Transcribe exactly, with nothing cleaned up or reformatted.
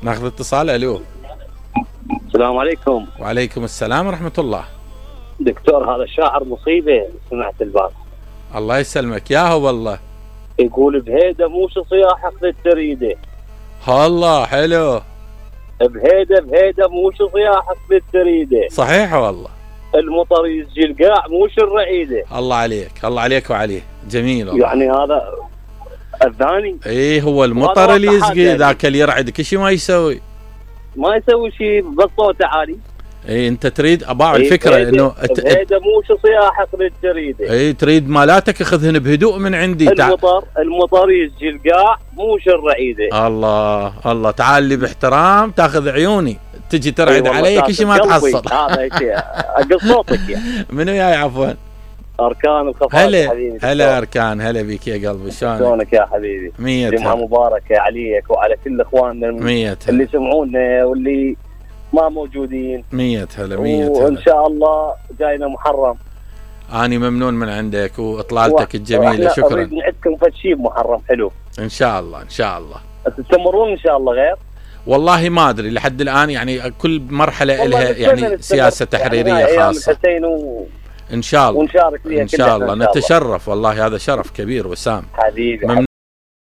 ناخذ اتصال. الو السلام عليكم. وعليكم السلام ورحمة الله. دكتور هذا الشاعر مصيبة، سمعت البارح. الله يسلمك ياهو والله. يقول بهيدا مو شو صياحك للتريده. الله حلو. بهيدا بهيدا مو شو صياحك للتريده. صحيح والله. المطر يسجي القاع مو شو الرعيده. الله عليك، الله عليك وعليه. جميل والله. يعني هذا الثاني. ايه هو المطر اللي يسقي، ذاك اللي يرعد كل شيء ما يسوي. ما يسوي شيء بس صوته عالي. اي انت تريد اباع الفكره إيه انه هذا مو شو صياحك للجريده. اي تريد مالاتك اخذهن بهدوء من عندي. المطر المطر يسجي القاع مو شو الرعيده. الله الله، تعال لي باحترام تاخذ عيوني، تجي ترعد علي كل شيء ما تحصل. هذا شيء اقل صوتك يعني. منو جاي عفوا؟ اركان الخفاف هلا حبيبي. هلا اركان، هلا بك يا قلبي، شلونك؟ شلونك يا حبيبي؟ مية جمعة مباركة عليك وعلى كل اخواننا مية اللي يسمعونا واللي ما موجودين. مية هلا مية هلا. وان شاء الله جاينا محرم. اني ممنون من عندك واطلالتك الجميلة، شكرا. نريد نعدكم فد شيء محرم حلو. ان شاء الله ان شاء الله. تستمرون ان شاء الله غير؟ والله ما ادري لحد الان، يعني كل مرحلة لها يعني سياسة تحريرية يعني خاصة. و... ان شاء الله ونشارك فيها ان شاء الله. نتشرف والله، هذا شرف كبير وسام حبيبي.